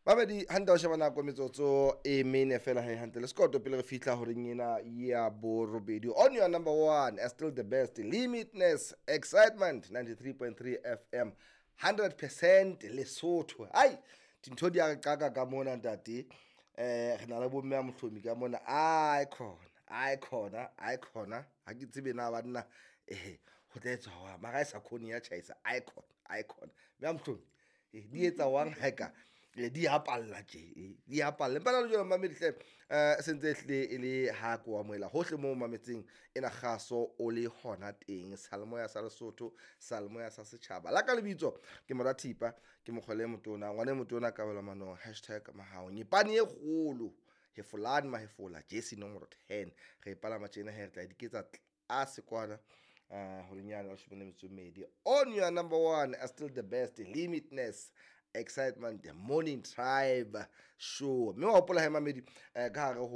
Mamedi hantle, o sheba nako, metsotso e mene fela he hantle le sekoto pele re fihla horeng ena ya borobedi on your number one and still the best, Limitless Excitement, 93.3 FM, 100% Lesotho. Ai, dintho di a re qaka ka mona, ntate. Re na le bomme a Mohlomi ka mona. Ai khona, ai khona, ai khona, ha ke tsebe na banna ho tla etswa jwang, mara ha e sa khone ya tjhaisa. Ai khona, ai khona, mme a Mohlomi, di etsa wang ha eka di a palla tje, di a palla. Empa na le jwalo, mamedi hle, sentse ehlile e le ha ko amohela hohle moo mametseng ena kgaso o le hona teng, salemoya sa Lesotho, salemoya sa setjhaba. La ka lebitso ke Mora Thipa, ke mokgwele motona, ngwana e motona, kabelo manong, #Mahao, nyepane e kgolo, hefolane mahefola, jersey nomoro 10. Re e palama tjena he, re tla diketsa tlase kwana horenyana 12 on your number one are still the best, Limitless Excitement, the Morning Tribe Show. Mme wa hopola he, mamedi, ka hare ho